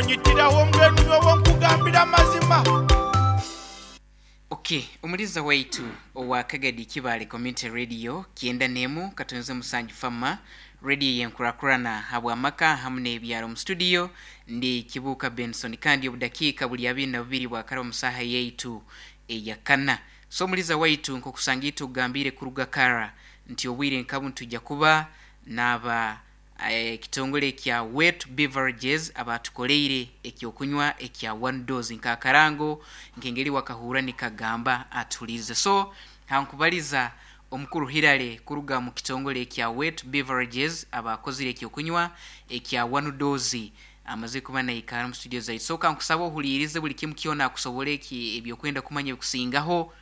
Onyitiraho mbwenu nyowe nkugambire amazima. Ok, omuliza waitu owa Kagadi Kibaale Community Radio kyenda n'emu katonze musanju fama radio yenkurakurana habw'amaka hamu n'ebyaro. Omu studio ndi Kibuuka Benson kandi obudakiika buli abiri na bubiri bwakaraba omu saaha yaitu eyakana. So omuliza waitu nkokusanga itwe okugambiire kuruga kara nti obwire nkabu nitwija kuba n'aba Ekitongore ekya Wet Beverages abaatukoreire eky'okunywa ekya One Dose nk'akarango nk'engeri wakahurra nikagamba atuhuriirize. So hankubariza Omukuru Hillary kuruga omu kitongore ekya Wet Beverages abaakozire eky'okunywa ekya One Dose amazire kuba naikara omu studio zaitu. So kankusaba ohuriirize buri kimu kyona akusobore eki eby'okwenda kumanya ebikusingaho.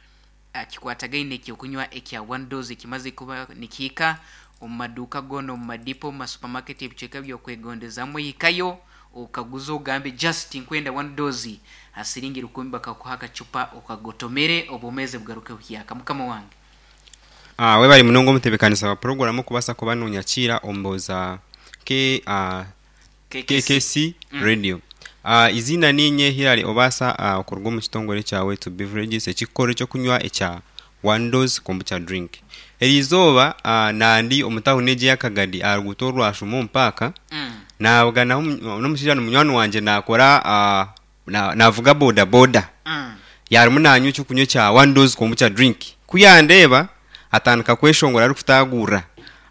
Kikwatagaine n'eky'okunywa ekya One Dose ekimaze kuba nikihika omu maduuka goona, omu madipo, omu masupamaketi, ebicweka by'okwegondezamu. Ohikayo okaguze ogambe just tinkwenda One Dose ha siringi rukumi bakakuha akacupa okagotomere obwomeezi bugaruke buhyaka. Mukama wange. Webare munonga omutebekanisa wa puroguramu okubaasa kuba nonyakiira omu mbooza KKC Radio. Eiziina niinye Hillary Obaasa okuruga omu kitongore ekya Wetu Beverages ekirikukora eky'okunywa ekya One Dose Kombucha Drink. Eriizooba nandi omu tawuni egi eya Kagadi aha ruguuto orwa Shumba omu paaka, naabuganaho n'omushaija ni munywani wangye naakora naavuga boda boda. Yaarimu naanywa eky'okunywa ekya One Dose Kombucha Drink. Ku yandeeba atandika kweshongora arikutaagurira.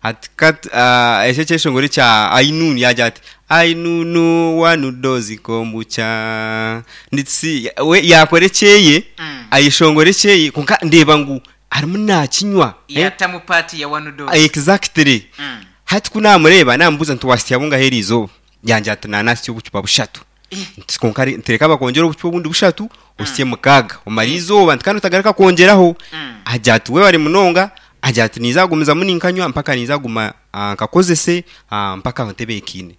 Ati kat ekyo ekyeshongoro ekya Ainunu yaagira ati Ainunu one dose kombucha nitsi we yaakora ekyeye ayeshongora ekyeye kwonka ndeeba ngu arimu naakinywa eh. Yaatamu part ya one dose. Exactly. Hati ku naamureeba naamubuuza nti waasya bungahi eriizooba? Yangira ati naanasya obucupa bushatu. Nti kwonka nti reka bakwongyere obucupa obundi bushatu osye mukaaga omare eizooba nti kandi otagaruka kwongyeraho. Agira ati webare munonga, agira ati ninza kugumizamu ninkanywa mpaka ninza kuguma nkakozese mpaka ntebeekaine.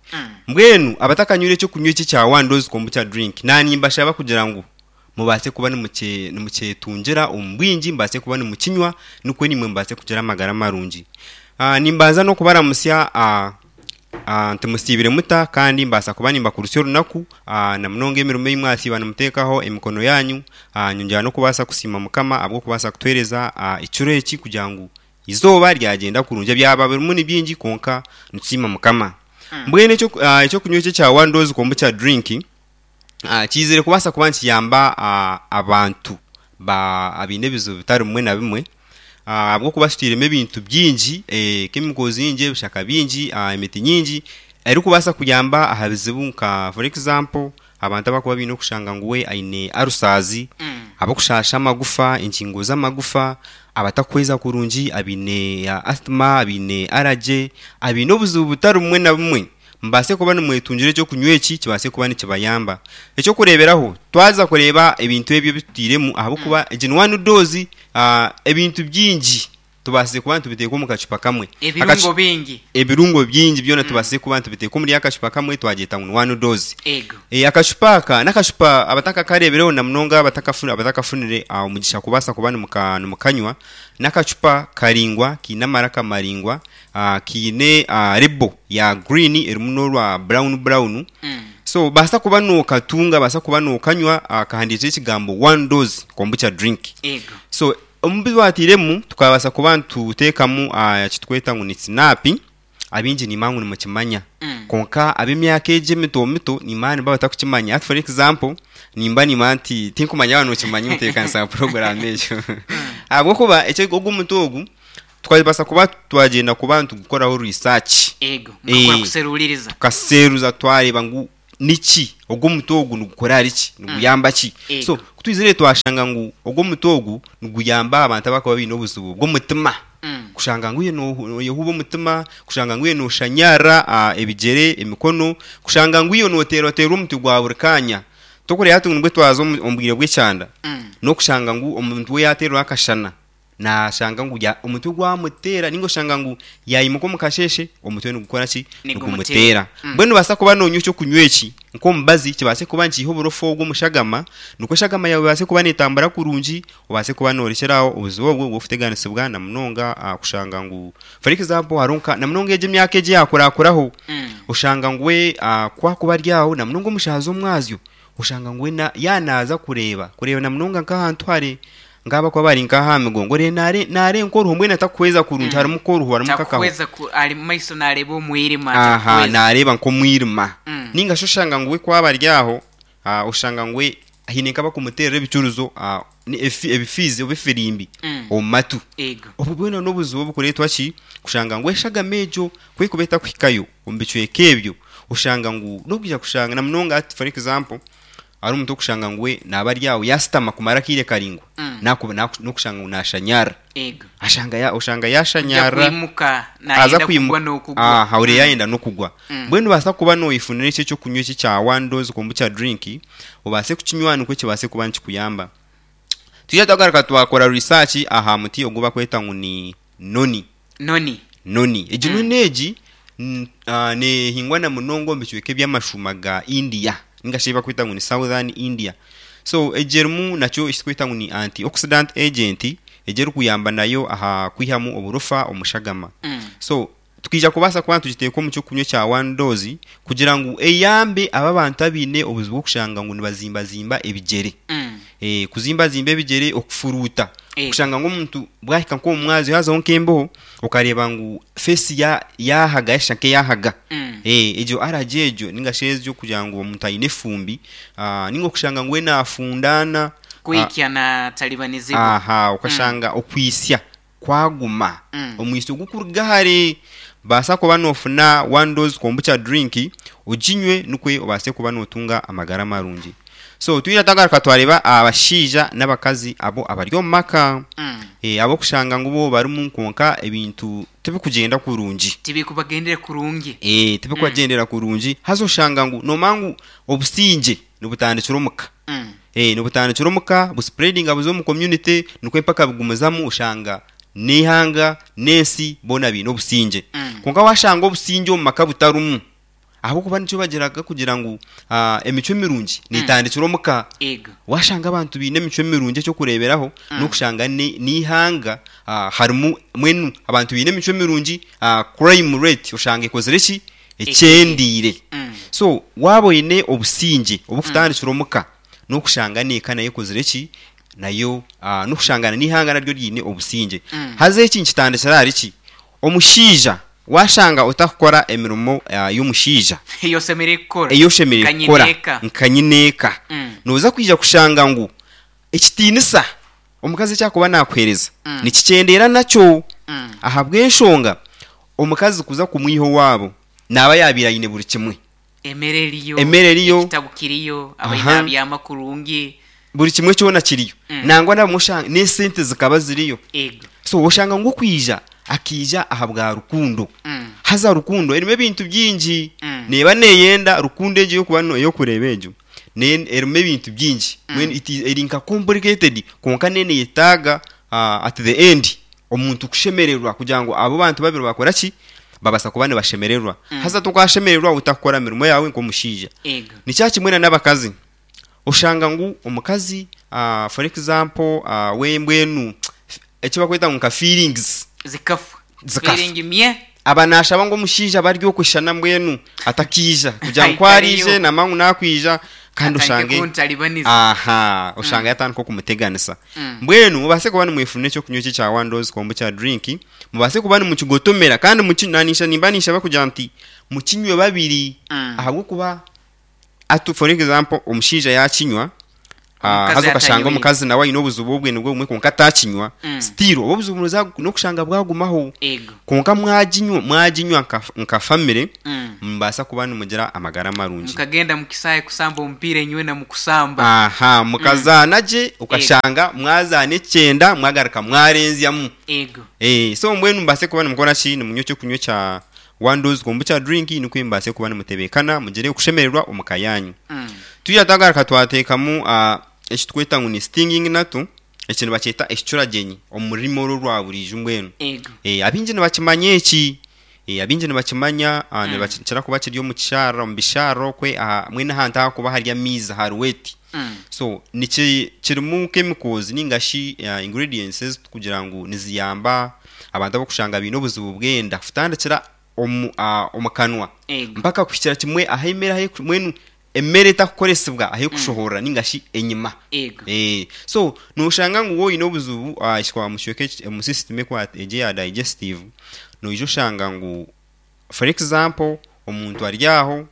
Mbwenu abatakanywire ekyokunywa eki ekya one dose kombucha drink naanye nimbashaba kugira ngu mubaase kuba nimukyetungira omu bwingi, mubaase kuba nimukinywa nikwo naimwe mubaase kugira amagara marungi. Nimbanza n'okubaramutsya nti musiibire muta kandi mbaasa kuba nimbakurutsya orunaku na munonga emirimo ei mwasiiba nimuteekaho emikono yaanyu. Nyongyera n'okubaasa kusiima Mukama ahabw'okubaasa kutuheereza ekiro eki kugira ngu eizooba ryagyenda kurungi. Ebyaba birimu ni bingi kwonka nitusiima Mukama. Mbwenu eky'okunywa eki ekya One Dose Kombucha Drink, Kiizire kubaasa kuba nikiyamba abantu abaine ebizibu bitari bimwe na bimwe ahabw'okuba kitwiremu ebintu bingi chemicals nyingi, ebishaka bingi, emiti nyingi erikubaasa kuyamba aha bizibu nka for example abantu abarikuba baine okushanga ngu we aine ulcers, abarikushasha amagufa, engingo z'amagufa, abatakuhweza kurungi, abaine asthma, abaine allergy, abaine obuzibu butari bumwe na bumwe. Mubaase kuba nimwetungira eky'okunywa eki kibaase kuba nikibayamba. Eky'okureeberaho, twaza kureeba ebintu ebi ebi tutairemu ahabw'okuba egi ni one dose, ebintu bingi tubaasize kuba nitubiteeka omu kacupa kamwe. Ebirungo bingi. Ebirungo bingi byona tubaasize kuba nitubiteeka omuri akacupa kamwe twagyeta ngu ni one dose. Ego. Akacupa aka n'akacupa abatakakareebireho na munonga abatakafunire omugisha kubaasa kuba nimukanywa, n'akacupa karaingwa kaine amaraka maraingwa. Kaine label ya green erimu n'orwa brown brown. So baasa kuba nokatunga, baasa kuba nokanywa kahandiikireho ekigambo one dose kombucha drink. Ego. So omu bi twatairemu tukabaasa kuba nituteekamu eki turikweta ngu ni sinapi, abaingi nimanya ngu nimukimanya. Kwonka ab'emyaka egi emito mito nimanya nibaba batarikukimanya. Hati for example, nimba nimanya nti tinkumanya yaaba nokimanya omutebeekanisa wa puroguraamu egyo. Ahabw'okuba ogu omuti ogu Twabaasa kuba twagyenda kuba nitugukoraho research. Ego, mukakora kuseruuririza. Tukaseruza twareeba ngu niki, ogu omuti ogu nigukora ahari ki, niguyamba ki. Ego. So ku twizire twashanga ngu ogu omuti ogu niguyamba abantu abarikuba baine obuzibu bw'omutima. Kushanga ngu iwe nooyehuuba omutima, kushanga ngu iwe nooshanyarara ebigyere, emikono, kushanga ngu iwe nooteerwateerwa omuti gwa buri kaanya. Torikureeba hati ngu nibwo twaza omu bwire bw'ekyanda, n'okushanga ngu omuntu we yaateerwa akashana. Naashanga ngu ya, omutwe gwamuteera nainga oshanga ngu yaimuka omu kasheeshe omutwe nigukora ki? Nigumuteera. Nigumuteera. Mbwenu noobaasa kuba noonywa eky'okunywa eki nk'omubazi kibaase kuba nikiiha oburofa obwo omu shagama nikwo eshagama yaawe ebaase kuba neetambura kurungi obaase kuba noorekyera aho obuzibu obwo obw'okuteganisibwa na munonga kushanga ngu for example hariho nka na munonga egi emyaka egi eyaakurakuraho oshanga ngu we ku akuba ari aho na munonga omu shaaha z'omwazyo oshanga ngu we yaaba naaza kureeba kureeba na munonga nk'ahantu hare nk'abakuba bari nk'aha migongo oreeba naare naarenka oruho mbwenu atakuhweza kurungi harimu nk'oruho harimu nk'akaho. Takuhweza ku ari mu maiso naareeba omwirima Aha atakuhweza. naareeba nk'omwirima. Nainga shi oshanga ngu we ku aba ari aho oshanga ngu we haine nk'abakumuteerera ebicurizo ebifiizi oba efirimbi omu matu. Ego. Obwo bwona n'obuzibu obukureetwa ki? Kushanga ngu eshagama egyo ku erikuba etakuhikayo omu bicweka ebyo, oshanga ngu n'okwija kushanga na munonga hati for example hariho omuntu orikushanga ngu we naaba ari aho yaashutama kumara akaire karaingwa, n'okushanga ngu naashanyarara. Ego. Ashanga ya, oshanga Kuja yashanyarara kwimuka aza nayenda kugwa kwimuka n'okugwa. aha ore yayenda n'okugwa. Mbwenu nobaasa kuba noyefunira eki ekyokunywa eki ekya one dose kombucha drink obaase kukinywa nikwo kibaase kuba nikikuyamba. Twija twagaruka twakora research aha muti ogu bakweta ngu ni noni. Noni. Noni. Egi noni egi nehingwa na munonga omu bicweka eby'amashuuma ga India ninga shi ebi bakweta ngu ni Southern India. So egi erimu nakyo eki turikweta ngu ni antioxidant agent egi erikuyamba nayo aha kwihamu oburofa omu shagama. So tukaija kubaasa kuba nitugiteeka omu ky'okunywa ekya one dose kugira ngu eyambe abo abantu abaine obuzibu bw'okushanga ngu nibazimbazimba ebigyere. Kuzimbazimba ebigyere, okufuruuta, kushanga ngu omuntu bwahika nk'omu mwazyo haazaho nk'embeho okareeba ngu feesi yaahaga yashusha nk'eyaahaga. Egyo allergy egyo nainga shi egyo kugira ngu omuntu aine efumbi nainga okushanga ngu we naafundaana. Kwikya naataribanizibwa. Aha, okashanga okwitsya kwaguma, omwitsyo gukuruga hare. Baasa kuba noofuna one dose kombucha drink oginywe nikwo obaase kuba nootunga amagara marungi. So twija twagaruka twareeba abashaija n'abakazi abo abari omu maka ab'okushanga ngu bo barimu kwonka ebintu tibikugyenda kurungi. Tibikubagendera kurungi. Tibikubagyendera kurungi haza oshanga ngu noomanya ngu obusingye nibutandikira omu ka. Nibutandikira omu ka buspreadinga buza omu community nikwo empaka bigumizamu oshanga n'eihanga n'ensi boona baine obusingye. Kwonka waashanga obusingye omu maka butarimu ahabw'okuba nikyo bagiraga kugira ngu emicwe mirungi neetandikira omu ka. Waashanga abantu baine emicwe mirungi eky'okureeberaho n'okushanga n'eihanga harimu mbwenu abantu baine emicwe mirungi crime rate oshanga ekozire ki? Ekyendeire. So waaba oine obusingye obukutandikira omuka n'okushanga n'eka nayo ekozire ki? Nayo n'okushanga n'eihanga naryo ryine obusingye. Haza eki nikitandikira ahari ki? Omushaija waashanga otakukora emirimo y'omushaija Ei oshemereire kukora ei oshemereire nka kukora nyineeka. nka nyineeka, nooza kwija kushanga ngu ekitiinisa omukazi eki arikuba naakuheereza nikikyendeera nakyo ahabw'enshonga Omukazi kuza kumwiha owaabo naaba yaabaire aine buri kimwe. Emere eriyo, Emere eriyo. ekitabu kiriyo, abaine Aha. abyama kurungi. Buri kimwe kyona kiriyo. Nangwa nabamwe oshanga n'esente zikaba ziriyo. Ego. So oshanga ngu okwija akaija ahabwa rukundo. Haza rukundo erimu ebintu bingi. Neeba neeyenda rukundo egyo ey'okuba ey'okureeba egyo ne erimu ebintu bingi. Mbwenu it is eri nka complicated kwonka n'eneyetaaga at the end omuntu kushemererwa kugira ngu abo bantu babiri bakora ki? Babaasa kuba nibashemererwa. Haza tokashemererwa otakukora mirimo yaawe nk'omushaija. Ego. Nikyo kimwe na n'abakazi. Oshanga ngu omukazi for example we mbwenu eki barikweta ngu nka feelings Zikafa. Zikafa. Feeling mye. Aba naashaba ngu omushaija abe ari okushushana mbwenu atakiija kugira ngu ku Aikariyo. araije namanya ngu naakwija kandi Atandike oshange kuntaribaniza. aha oshange yatandika okumuteganisa. Mbwenu mubaase kuba nimwefunira eky'okunywa eki ekya one dose kombucha drink, mubaase kuba nimukigotomera kandi muki nanisha nimba ninshaba kugira nti mukinywe babiri ahabw'okuba hati for example omushaija yaakinywa Omukazi haza okashanga atanywire. omukazi nawe aine obuzibu obwe nibwo bumwe kwonka ataakinywa, still obwo obuzibu noza n'okushanga bwagumaho. Ego. Kwonka mwaginywa mwaginywa nka nka family nimubaasa kuba nimugira amagara marungi. Mukagenda mu kisaahe kusamba omupiira inywena mukusamba. Aha, mukazaana gye okashanga mwazaana ekyenda mwagaruka mwarenzyamu. Ego. So mbwenu mubaase kuba nimukora ki? Nimunywa ekyokunywa ekya one dose kombucha drink nikwo mubaase kuba nimutebeekana mugire okushemererwa omu ka yaanyu. Twija twagaruka twateekamu eki turikweta ngu ni stinging nettle. Eki nibakyeta ekicuragyenyi omu rurimi oru orwa buriijo mbwenu. Ego. Abaingi nibakimanya eki. Abaingi nibakimanya, nibakira kuba kiri omu kisharara, omu bisharara okwe, mbwenu ahantu ahakuba hari amaizi hari wet. So niki kirimu chemicals ninga shi ingredients ezi turikugira ngu niziyamba abantu abarikushanga baine obuzibu bw'enda kutandikira omu omu kanwa Ego. mpaka kuhikira kimwe ahu emere ahu mbwenu emere etakukoresibwa ahu erikushohorera ninga shi enyima. Ego. So noshanga ngu waaba oine obuzibu aha omu kicweka eki omu system egi eya digestive, noija oshanga ngu for example omuntu ari aho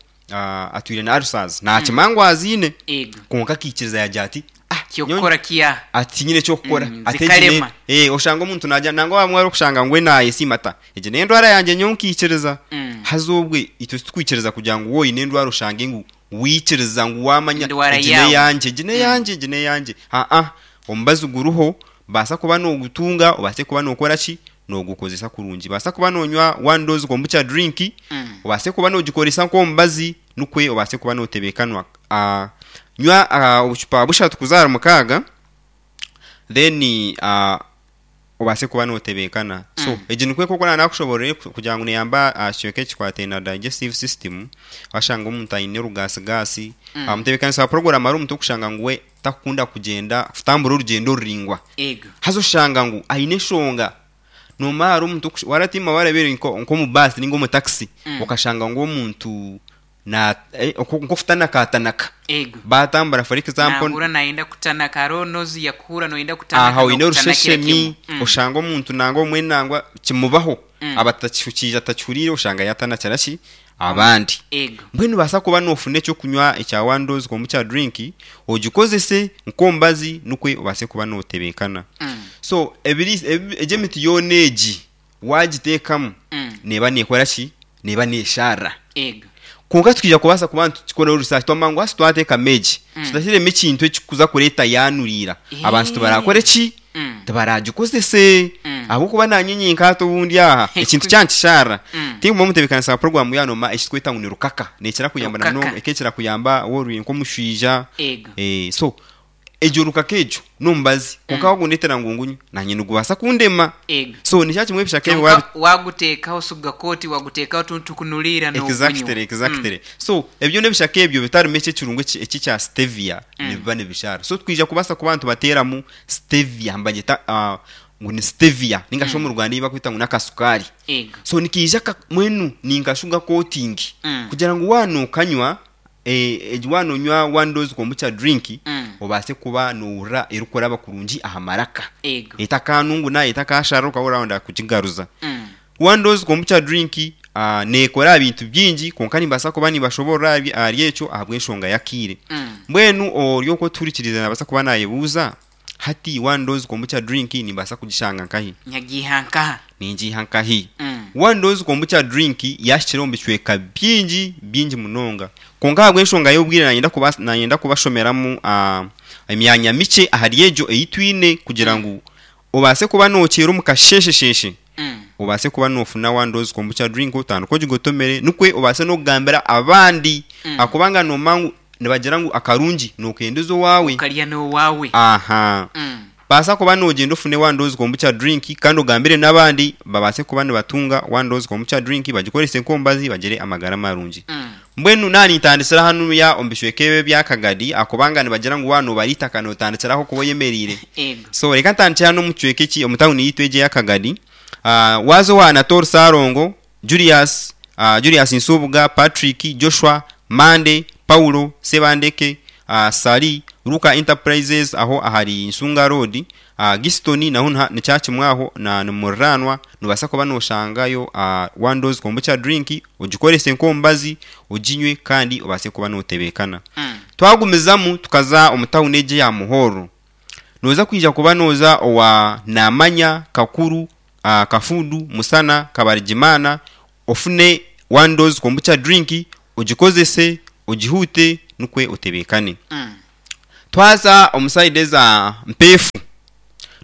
atwire na ulcers nakimanya ngu aziine Ego. kwonka akaikiriza yagira ati ah nyowe Kyokukora kiya. ati tinyine eky'okukora ati egi Zikarema. ne oshanga omuntu naagira nangwa abamwe orikushanga ngu we naayesiima ati ah egi n'endwara yangye nyowe nkaikiriza. Haza obwe itwe titukwikiriza kugira ngu waaba oine endwara oshange ngu waikiriza ngu waamanya Endwara egi yaawe. n'eyangye egi n'eyangye egi n'eyangye aa omubazi guriho baasa kuba noogutunga obaase kuba nookora ki noogukozesa kurungi baasa kuba noonywa one dose kombucha drink obaase kuba noogikoresa nk'omubazi nikwe obaase kuba nootebeekanwa nywa obucupa bushatu kuza ahari mukaaga then obaase kuba nootebeekana. So egi nikwo oku naakushoboorora kugira ngu neeyamba aha kicweka ekikwataine na digestive system, waashanga omuntu aine orugaasigaasi, omutebeekanisa wa puroguraamu hariho omuntu orikushanga ngu we takukunda kugyenda kutambura orugyendo oruraingwa. Ego. Haza oshanga ngu aine enshonga. Noomanya hariho omuntu orikusha waaratiima waareeba nk'omu baasi nainga omu takisi, okashanga ngu omuntu na nk'okutanakatanaka. Ego. Baatambura for example. Naahurra naayenda kutanaka hariho n'ozu yakuhurra nooyenda kutanaka Aha oine n'okutanakira orusheshemi kimwe. oshanga omuntu nangwa obumwe nangwa kimubaho aba atakiija atakihuriire oshanga yaatanakira ki abandi. Ego. Mbwenu noobaasa kuba noofuna eky'okunywa ekya one dose kombucha drink ogikozese nk'omubazi nikwo obaase kuba nootebeekana. So ebiriisa egi emiti yoona egi waagiteekamu neeba neekora ki? Neeba neesharira. Ego. Kwonka titwija kubaasa kuba nitukikoraho research twamanya ngu hati twateekamu egi, tutateiremu ekintu ekirikuza kureeta yaanuriira, abantu tibarakore ki? Tibaragikozese. Ahabw'okuba naanye nyenka hati obundi aha ekintu kyankisharira. Tinkuba omutebeekanisa wa puroguraamu yaaba noomanya eki turikweta ngu ni rukaka. Neekira kuyamba na munonga, Rukaka. ekekira kuyamba waaba ori nk'omushwija. Ego. So egyo rukaka egyo n'omubazi kwonka wagundeetera ngu ngunywe naanye nigubaasa kundema. Ego. So nikyo kimwe ebishaka ebi Kyonka waabi waguteekaho suga kooti waguteekaho otuntu tukunuriira n'ogunywa. Exactly, exactly. So ebyo n'ebishaka ebyo bitarimu eki ekirungo eki eki ekya stevia nibiba nibishaara. So twija kubaasa kuba nitubateeramu stevia nibagyeta ngu ni stevia ninga shi omu Ruganda ei barikweta ngu n'akasukaari. Ego. So nikaija ka mbwenu ni nka sugar coating kugira ngu waaba nookanywa Egi waaba noonywa one dose kombucha drink, obaase kuba noohurira erikuraba kurungi aha maraka. Ego. Etakaanunguna, etakaasharira okahurira wayenda kugigaruza. One dose kombucha drink neekora aha bintu bingi kwonka nimbaasa kuba nimbashoboorora ahari ekyo ahabw'enshonga y'akaire. Mbwenu ori okwo otuhurikiriize naabaasa kuba naayebuuza, Hati one dose kombucha drink nimbaasa kugishanga nkahi? Nyagiiha nkaha? Ningiiha nkahi? One dose kombucha drink yaahikire omu bicweka bingi bingi munonga. Kwonka ahabw'enshonga y'obwire nanyenda kuba nanyenda kubashomeramu emyanya mikye ahari egyo ei twine kugira ngu obaase kuba nookyera omu kasheeshesheeshe obaase kuba noofuna one dose kombucha drink otandike ogigotomere nikwo obaase n'okugambira abandi ahabw'okubanga noomanya ngu Nibagira ngu akarungi nookendeza owaawe. Okarya n'owaawe. Aha. Baasa kuba noogyenda ofune one dose kombucha drink kandi ogambire n'abandi babaase kuba nibatunga one dose kombucha drink bagikorese nk'omubazi bagire amagara marungi. Mbwenu naaba nintandikira hanuya omu bicweka ebi ebya Kagadi ahabw'okubanga nibagira ngu waaba noobara eitaka nootandikira ahu orikuba oyemereire. Ego. So reka ntandikire hanu omu kicweka eki omu tawuni yaitu egi eya Kagadi. Waaza owa Anatole Ssalongo, Julius, Julius Nsubuga, Patrick, Joshua, Monday, Paulo, Ssebandeke, Ssali, Luka Enterprises aho ahari Nsunga Road, Giston naho nikya kimwe aho na nimuriraanwa nobaasa kuba noshangayo one dose kombucha drink ogikorese nk'omubazi oginywe kandi obaase kuba notebeekana. Twagumizamu tukaza omu tawuni egi eya Muhorro, noza kwija kuba noza owa Namanya, Kakuru, Kafudu, Musana, Kabarigimana, ofune one dose kombucha drink ogikozese, ogihuute nikwe otebeekane. Twaza omu side eza Mpeefu,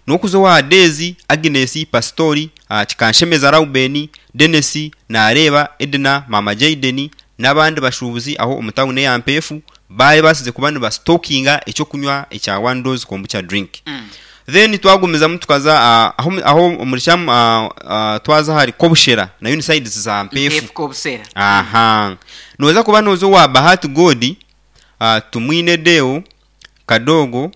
n'okuza owa Deezi, Agnes, Pasitori, Kikanshemeza Rauben, Denis, Nareeba, Edna, Maama Jayden n'abandi bashuubuzi aho omu tawuni eya Mpeefu baayebaasize kuba nibasitokinga eky'okunywa ekya one dose kombucha drink. Then twagumizamu tukaza aho aho omuri Kyamu twaza ahari Kobushera nayo ni sides za Mpeefu. Mpeefu Kobusera. Aha. Nooza kuba nooza owa Bahati God, Tumwine Deo, Kadogo,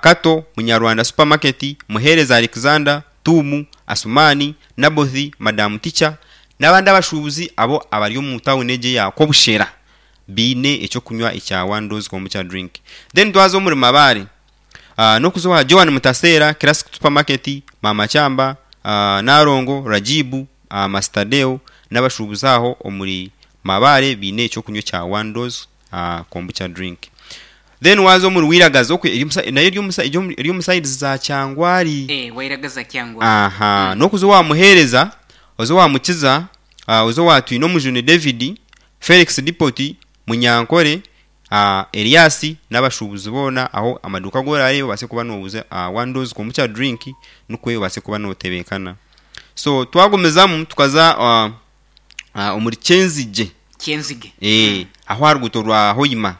Kato, Munyarwanda Supermarket, Muheereza Alexander, Tuumu, Asumani, Naboth, Madamu Teacher n'abandi abashuubuzi abo abari omu tawuni egi eya Kobushera baine eky'okunywa ekya One Dose Kombucha Drink. Then twaza omuri Mabaare, n'okuza owa Joan Mutaseera, Classic Supermarket, Maama Kyamba, Nalongo, Rajibu, Master Deo n'abashuubuzi aho omuri Mabaare baine eky'okunywa ekya One Dose Kombucha Drink. Then waaza omuri Wiragazi okwe eri omu nayo eri omu eri omu sides za Kyangwari. Eh, Wairagaza Kyangwari. Aha, n'okuza owa Muheereza, oze owa Mukiza, oze owa Twinomujuni David, Felix Dipoti, Munyankore, Elias n'abashuubuzi boona aho amaduuka agu oraareebe obaase kuba nooguza one dose kombucha drink nikwo obaase kuba nootebeekana. So twagumizamu tukaza omuri Kyenzigye. Kyenzige. Ee, aho aha ruguuto rwa Hoima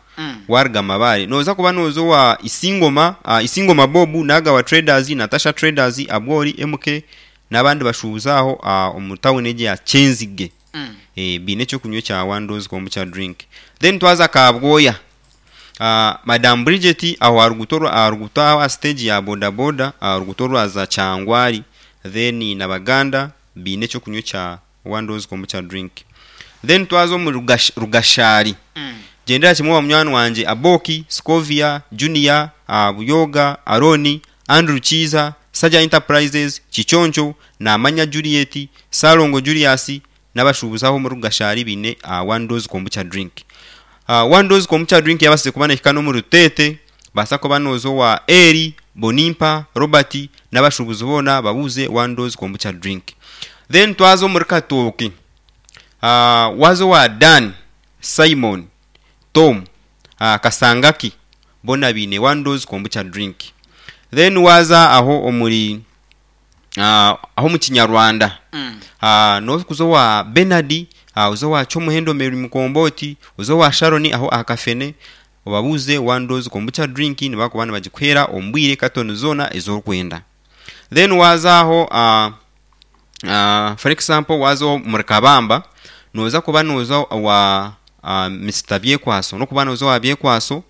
waaruga Mabaare nooza kuba nooza owa Isingoma, Isingoma Bob, Nagawa Traders, Natasha Traders, Abwori, MK n'abandi bashuubuzi aho omu tawuni egi eya Kyenzige. Baine eky'okunywa ekya One Dose Kombucha Drink. Then twaza Kabwoya, Madam Bridget aho aha ruguuto rwa aha ruguuto aho aha siteegi ya boda boda aha ruguuto orwaza Kyangwari then na Baganda baine eky'okunywa ekya One Dose Kombucha Drink. Then twaza omu Rugash Rugashari, gyendera kimwe owa munywani wangye Aboki, Scovia, Junior, Buyoga, Arooni, Andrew Kiiza, Saja Enterprises, Kiconco, Namanya Juliet, Ssalongo Julius n'abashuubuzi aho omuri Rugashari baine One Dose Kombucha Drink. One Dose Kombucha Drink yabaasize kuba nehika n'omuri Ruteete, baasa kuba nooza owa Eli, Bonimpa, Robert n'abashuubuzi boona babuuze One Dose Kombucha Drink. Then twaza omuri Katooke, waaza owa Dan, Simon, Tom, Kasangaki bona baine one dose kombucha drink. Then waaza aho omuri aho omu Kinyarwanda nokuza owa Bernard, oze owa Kyomuhendo Mary Mukombooti, oze owa Sharon aho aha Kafene obabuuze one dose kombucha drink nibakuba nibagikuheera omu bwire katoni zoona ezi orikwenda. Then waaza aho For example waaza omuri Kabamba nooza kuba nooza owa Mister Byekwaso n'okuba nooza owa Byekwaso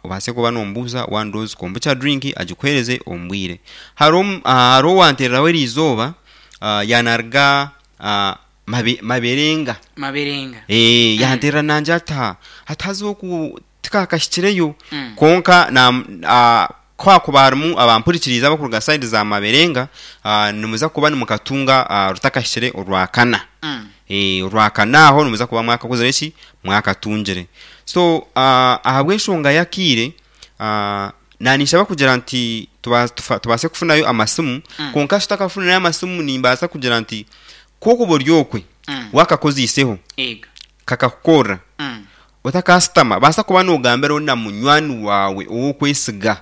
obaase kuba noomubuuza one dose kombucha drink agikuheereze omu bwire. Hariho hariho owanteereraho eriizooba yaanaruga Maberenga. Maberenga. Yanteerera nangye ati hati haza oku Tikakahikireyo, kwonka ku hakuba harimu abampurikiriize abarikuruga sayidi za Maberenga, nimuza kuba nimukatunga rutakahikire Orwakana. Orwakana aho nimuza kuba mwakakozire ki? Mwakatungire. So ahabw'enshonga y'akaire, naninshaba kugira nti tubaase kufunayo amasimu, kwonka tutakafunire amasimu nimbaasa kugira nti ku okuba ori okwe, wakakoziiseho, kakakukorera, Otakaasitama, baasa kuba noogambiraho na munywani waawe ou orikwesiga.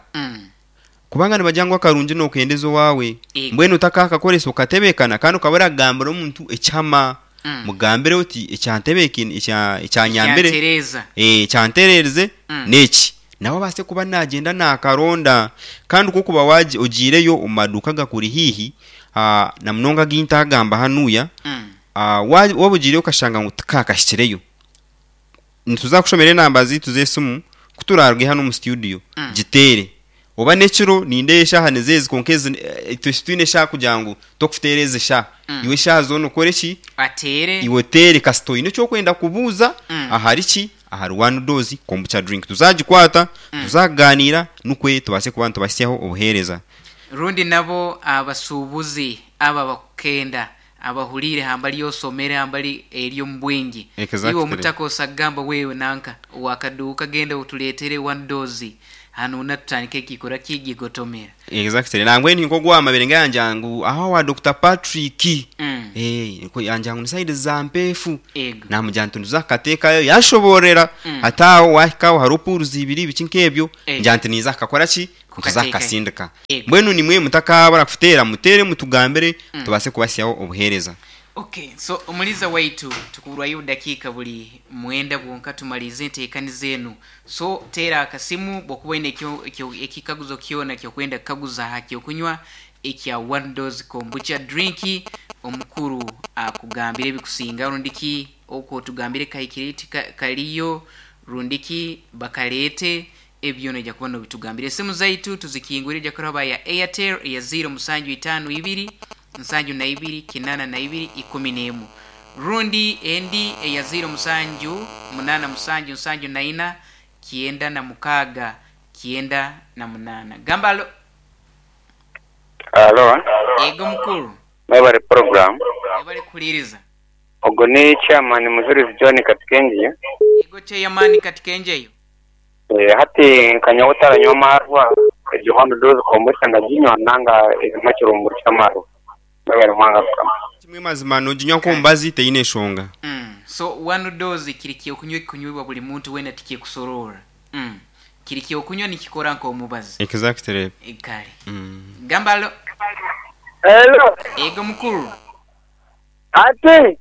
Kubanga nibagira ngu akarungi nookendeza owaawe. Mbwenu otakaakakoresa okatebeekana kandi okaba oragambira omuntu ekihama. Mugambire oti ekyantebeekaine, ekyanyambire, ekyantereerize n'eki. Nawe abaase kuba naagyenda naakaronda. Kandi ku orikuba ogiireyo omu maduuka agakuri haihi, na munonga agu ntaagamba hanuya, waaba ogiireyo okashanga ngu tikaakahikireyo, Nituza kushomera enamba zaitu z'esimu ku turaaruge hanu omu situdiyo. Giteere. Oba n'ekiro, nindeeba eshaaha nizo ezi kwonka ezi itwe titwine eshaaha kugira ngu tokuteera ezi eshaaha. Iwe eshaaha zoona okore ki? Ateere. Iwe oteere kasita oine eki orikwenda kubuuza ahari ki? Ahari One Dose Kombucha Drink. Tuzagikwata, tuzakugaaniira nikwo tubaase kuba nitubahitsyaho obuheereza. Rundi nabo abasuubuzi abo abakukenda Abahuriire hambali osomere hambali eri omu bwingi. Iwe Exactly. omutaka osagamba wewe nanka owakaduuka genda oturetere one dose hanu na tutandike ekikora ki gigotomera. Exactly. Nangwa ni nk'ogu owamabire nga yangira ngu aho owa Dokita Patrick. Eh, yangira ngu ni side za Mpeefu. Ego. Namugira nti nituza kukateekayo, yanshoboororera ati aho wahika aho hariho pools ibiri biki nk'ebyo, Ego. ngira nti ninza kukakora ki? Nituza Kukateekayo. kukasindika. Ego. Mbwenu nimwe mutakabura kuteera, muteere mutugambire tubaase kubahitsyaho obuheereza. Okay, so omuliza waitu tukuburwayo obudakiika buri mwenda bwonka tumalize enteekaniza enu. So teera akasimu bwokuba oine ekikaguzo kyona kyokwenda kukaguza aha kyokunywa ekya One Dose Kombucha Drink, omukuru akugambire ebikusinga rundiki okwo otugambire kahikire tikakariyo rundiki bakareete ebyo noija kuba nobitugambira. Esimu zaitu tuzikingwire oija kuraba ya Airtel eya ziiro musanju itaano ibiri nsanju na ibiri kinana na ibiri ikumi n'emu rundi endi eya ziiro musanju munana musanju nsanju na ina kyenda na mukaaga kyenda na munana. Gamba alo. Alo. Yego mukuru. Mwebale program. Webale kuhuliriza. Ogu ni chairman Mujurizi John Katikengiyo. Yego chairman Katikengyeyo. Hati nka nyowe otaranywa amarwa, egyo one dose kombucha ndaginywa nanga erimu ekirungo ky'amarwa. Mwebale mwanga kukama. Kimwe mazima noginywa nk'omubazi teine nshonga. So one dose kiri kyokunywa ekikunywibwa buri muntu weena tikikusoroora. Kiri kyokunywa nikikora nk'omubazi. Exactly. Kare. Gamba alo. Hello. Ego mukuru. Ati.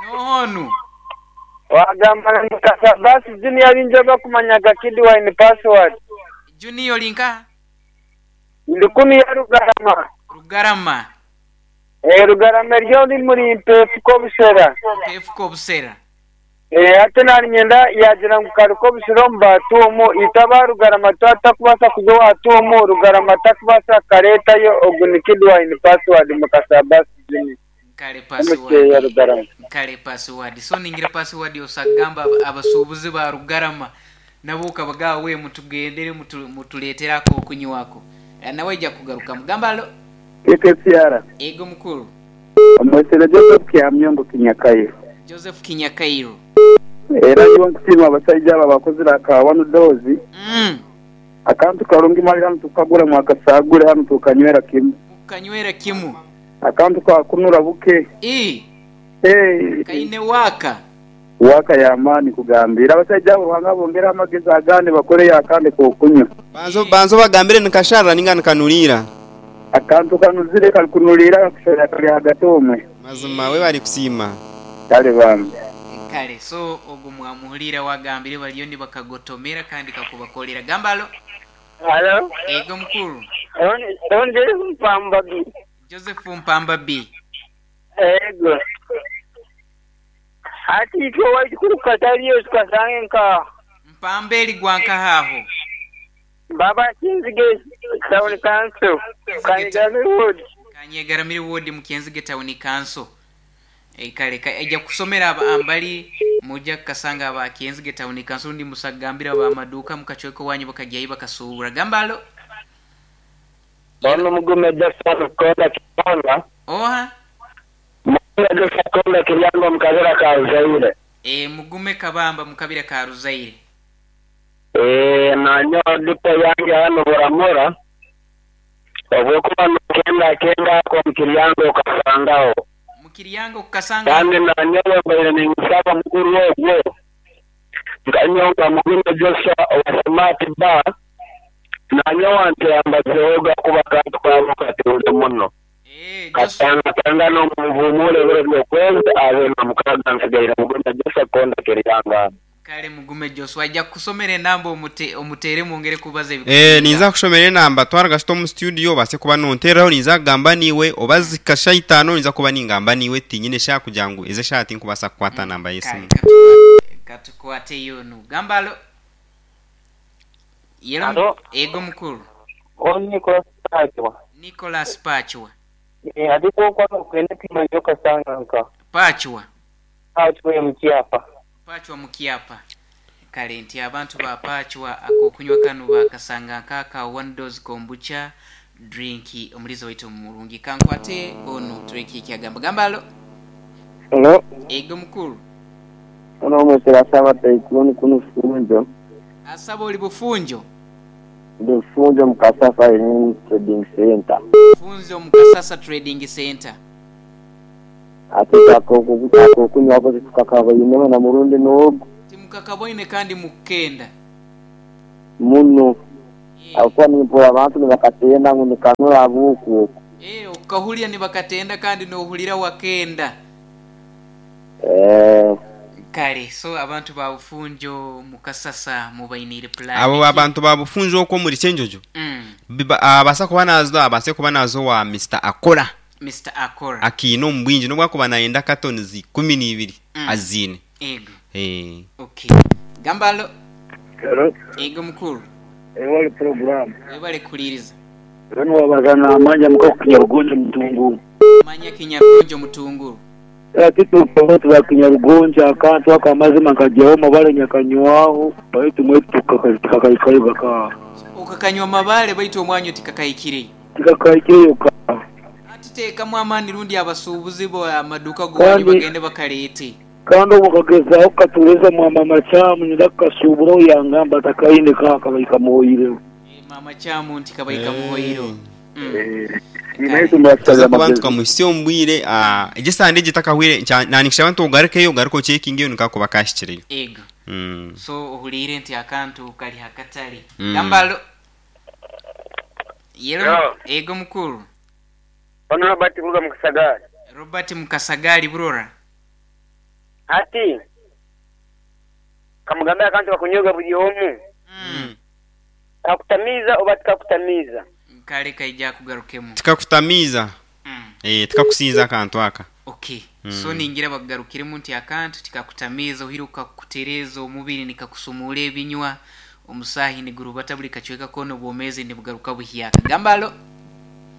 N'oha onu? Wagamba na Mukasa basi Junior aringi abakumanyaga Kid Wine Password. Junior ori nkaha? Ndi kunu ya Rugarama. Rugarama. Eh, Rugarama eri ori muri Mpeefu Kobushera. Mpeefu Kobushera. Eh, hati naninyenda yagira ngu kari Kobushera omu Batuumu, itwe aba Rugarama twaba tutakubaasa kuza owa Tuumu, Rugarama takubaasa kukareetayo, ogu ni Kid Wine Password Mukasa Basi Junior. Kare Omu ya password. Rugarama. Kare password. So ningira password osagamba abasuubuzi ba Rugarama nabo okabagaba we mutugendere mutureetere ak'okunywako. Nawe aija kugarukamu. Gamba alo. KKCR. Ego mukuru. Omwesere Joseph Kihamyongo Kinyakairo. Joseph Kinyakairo. Era nyowe nkusiima abasaija abo abakozire aka one dose. Akantu karungi mali hanu tukukagura mwakasagure hanu tukanywera kimu. Mukanywera kimu. Akantu kakunura buke. Ii. Eeh. Kaine waaka. Waaka y'amaani kugambira. Abasaija abo Ruhanga abongereho amagezi agandi bakoreyo akandi k'okunywa. Banza obagambire nikasharira ninga nikanuriira. Akantu kanuzire karikunuriira kakusharira kari ahagati omwe. Mazima webare kusiima. Kare bambi. Kare so ogu mwamuhurira wagambire bariyo nibakagotomera kandi kakubakorera. Gamba alo. Alo. Ego mukuru. Ono Joseph Mpamba B. Joseph Mpamba B. Ego. Hati itwe owaitu kuri kukatariyo tukasanga nka. Mpamba eri gwa nkaha aho? Baba Kyenzige Town Council, Kanyegaramire Ward. Kanyegaramire Ward mu Kyenzige Town Council. Kare aija kusomera ambali muja kukasanga aba Kyenzige Town Council rundi musagambire aba maduuka mukacweka owanyu bakagya ahi bakasuubura. Gamba alo. Ono Mugume Jackson Konda Kiryango. Oha? Mugume Jackson Konda Kiryango omu kabira ka Ruzaire. Eeh Mugume Kabamba mu kabira ka Ruzaire. Eeh nanyowe dipo yange hanu Buramura, obwokuba nokenda akenda ako omu Kiryango okasangaho. Mu Kiryango okukasanga. Kandi nanyowe mbaire ninsaba mukuru ogwo nkanyowe nka Mugume Joshua owa Smart Bar nanyowe anteambazehoga kuba akantu kabo katunze muno. Eeh Joshua. Katangatangana omu nvumuuro ebiro by'okwezi abiri na mukaaga nsigaire Mugume Joshua Konda Kiryango hanu. Kale mugume Joshua aija kukusomera enamba omute omuteere mwongere kubaza Eeh ebikusinga. ninza kushomera enamba twara gasita omu studio obaase kuba nontereraho ninza kugamba naiwe oba zika shaaha itaano ninza kuba ningamba naiwe tinyine shaaha kugira ngu ezi eshaaha tinkubaasa kukwata namba Kale y'esimu. katukwate yoonu. Gamba alo. Yelo Alo. ego mukuru. Onu Nicholas Pachwa. Nicholas Pachwa. Eh, ati kwokwa nokwenda kwimanya okasanga nka. Pachwa. Pachwa mukyapa. Pachwa mukyapa. Kale nti abantu ba Pachwa akokunywa kanu bakasanga nk'aka one dose kombucha drink omulizo waitu murungi. Kankwate onu tureke ekyagamba. Gamba alo. Hello. Ego mukuru. Ono omwesera asaba Tycoon kunu Funjo. Asaba oli Bufunjo? Ndi Bufunjo mu Kasasa Trading Center. Bufunjo mu Kasasa Trading Center. Ate akokunywako titukakaboinemu na murundi n'ogu. Timukakaboine kandi mukukenda. Muno. Ahabw'okuba nimpurira abantu nibakatenda ngu nikanura ahabw'oku oku. Okukahurira nibakatenda kandi noohurira wakenda. Eh, Kale so abantu ba Bufunjo Mukasasa mubainiire pulaani Abo ki? abantu ba Bufunjo okwo omuri Kyenjojo abaasa kuba naaza abaase kuba naaza owa Mister Akora. Mister Akora. Akiine omu bwingi n'obu akuba naayenda katonizi 12 aziine. Ego. Eh. Okay. Gamba alo. Hello. Ego mukuru. Webale program. Webale kuhuliriza. Mbwenu wabaza namanya muka Kinyarugonjo Mutunguru. Manya Kinyarugonjo Mutunguru. Hati itwe ba Kinyarugonjo akantu ako amazima nkagyaho mabare nyakanywaho baitu mwaitu tikakahikayo gaka. Okakanywa mabare baitu omwanyu tikakahikireyo. Tikakahikireyo ka. Hati teekamu amaani rundi abasuubuzi bo amaduuka g'owanyu Kandi bagende bakaleete. Kandi obu nkagezaaho kukatuureza mwa Maama Kyamu nyenda kukasuuburaho yangamba takaine ka kabaire kamuhoireho. Maama Kyamu nti kabaire kamuhoireho. Naitwe muratusabira Tuza kuba amagezi. nitukamuhitsya omu bwire egi esande egi etakahwire nanikishaba nti ogarukeyo ogaruke ocekingeyo nikakuba kahikireyo. Ego. So ohuliire nti akantu kari ha katare. Gamba alo. Yelo. Yo. Ego mukuru. Ono Robert kuruga mu Kasagaari. Robert Mukasagaari Burora. Hati kamugambe akantu kakunyoga buri omu. Kakutamiiza oba tikakutamiiza? Kare kaija akugarukemu. Tikakutamiiza. Eh, tikakusinza akantu aka. Okay. So ningira bakugarukiremu nti akantu tikakutamiiza ohiire kakutereeza omubiri nikakusumuura ebinywa omusaahi nigurubata buri kacweka koona obwomeezi nibugaruka buhyaka. Gamba alo.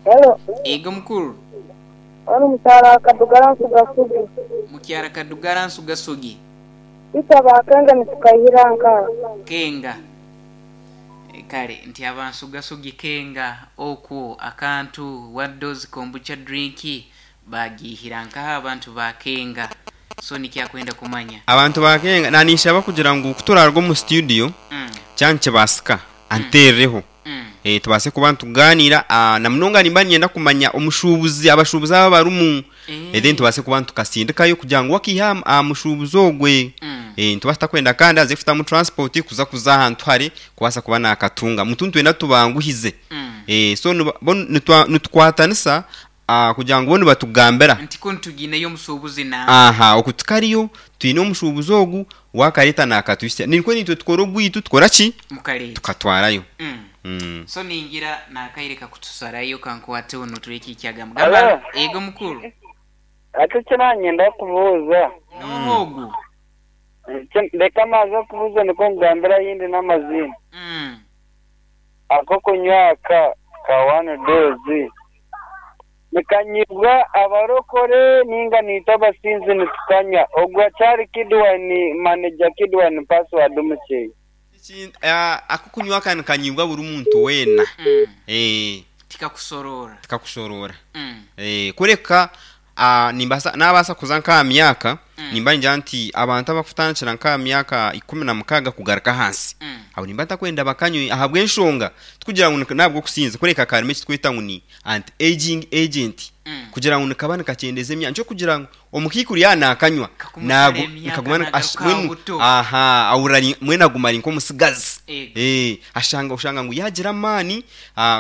Hello. Ego mukuru. Onu mukyara Kadugara Nsugasugi. Mukyara Kadugara Nsugasugi. Itwe aba Kenga nitukaihira nkaha. Kenga. Kare nti aba Nsugasugi Kenga okwo akantu one dose kombucha drink bagiihira nkaha abantu ba Kenga. So nikyo akwenda kumanya. Abantu ba Kenga naninshaba kugira ngu ku turaruga omu studio kyaba nikibaasika anteerereho tubaase kuba nitugaaniira na munonga nimba niinyenda kumanya omushuubuzi abashuubuzi aba abarimu then tubaase kuba nitukasindikayo kugira ngu wakiiha aha mushuubuzi ogwe nitubaasa tutakwenda kandi aze kutamu transport kuza kuza ahantu hare kubaasa kuba naakatunga mutu nitwenda tubanguhize so bo nitukwatanisa kugira ngu bo nibatugambira. Nti kunu tugiineyo omushuubuzi na. Aha oku tukariyo twine omushuubuzi ogu waakareeta naakatuhitsya nikwo naitwe tukora ogwaitu tukora ki? Mukareeta. Tukatwarayo. So ningira nakaire kakutusarayo kankwateho notureka ekyagamba. Gamba Hello. ego mukuru. Ati eki nanyenda kubuuza. Noha ogu? Reka maaze kubuuza nikwo nkugambire ahindi n'amaziina. Ak'okunywa aka ka one dose nikanyibwa abarokore ninga naitwe abasinzi nitukanywa? Ogwo akyari Kidwine manager Kidwine password mukyeyi. Ak'okunywa aka nikanyibwa buri muntu weena. Tikakushoroora. Tikakushoroora. Kureka nimbaasa naabaasa kuza nk'aha myaka, nimba ningira nti abantu abakutandikira nk'aha myaka 16 kugaruka ahansi, abo nimba ntakwenda bakanywe ahabw'enshonga tikugira ngu n'ahabw'okusinza kureka karimu eki turikweta ngu ni anti-aging agent kugira ngu nikaba nikakyendeeza emyaka nikyo kugira ngu omukaikuru yaaba naakanywa Kakumusara naagu emyaka nikaguma nagaruka ash aha mbwenu buto. aha ahurira ari mbwenu aguma ari nk'omutsigazi. Ego. Ashanga oshanga ngu yaagira amaani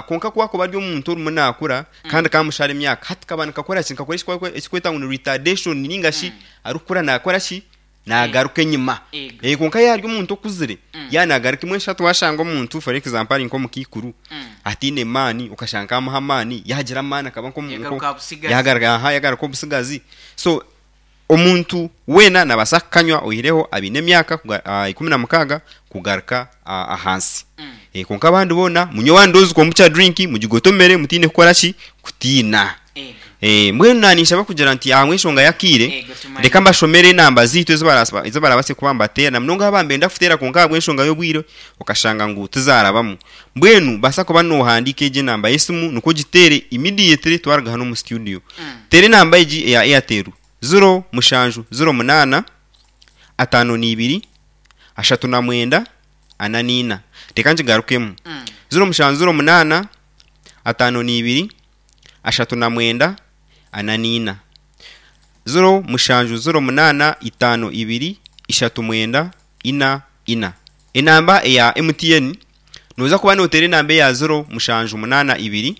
kwonka ku akuba ari omuntu orimu naakura kandi kamushara emyaka hati kaba nikakora ki nikakora eki barikweta ngu ni retardation ninga shi arikukura naakora ki naagaruka enyima. Ego. Kwonka yaaba ari omuntu okuzire yaaba naagaruka mbwenu shi hati waashanga omuntu for example ari nk'omukaikuru ataine maani okashanga kamuha amaani yaagira amaani akaba nk'omu Yagaruka aha butsigazi. yagaruka aha yagaruka obutsigazi so Omuntu weena naabaasa kukanywa oihireho abaine emyaka 16 kugaruka ahansi. Kwonka abandi boona munywe one dose kombucha drink mugigotomere mutaine kukora ki? Kutiina. Mbwenu naninshaba kugira nti ahabw'enshonga y'akaire, reka mbashomere enamba zaitu ezi barabaase kuba nibateera na munonga abaaba nibenda kuteera kwonka ahabw'enshonga y'obwire okashanga ngu tizaarabamu. Mbwenu baasa kuba noohandiika egi enamba y'esimu nikwo ogiteere immediately twaruga hanu omu studio. Teera enamba egi eya Airtel, ziro mushanju ziro munaana, ataano na ibiri, ashatu na mwenda, ana na ina. Reka ngigarukemu. 0708, 52, 39, 44. 0708 52 39 4 ina. Enamba eya MTN, nooza kuba nooteera enamba eya 0782.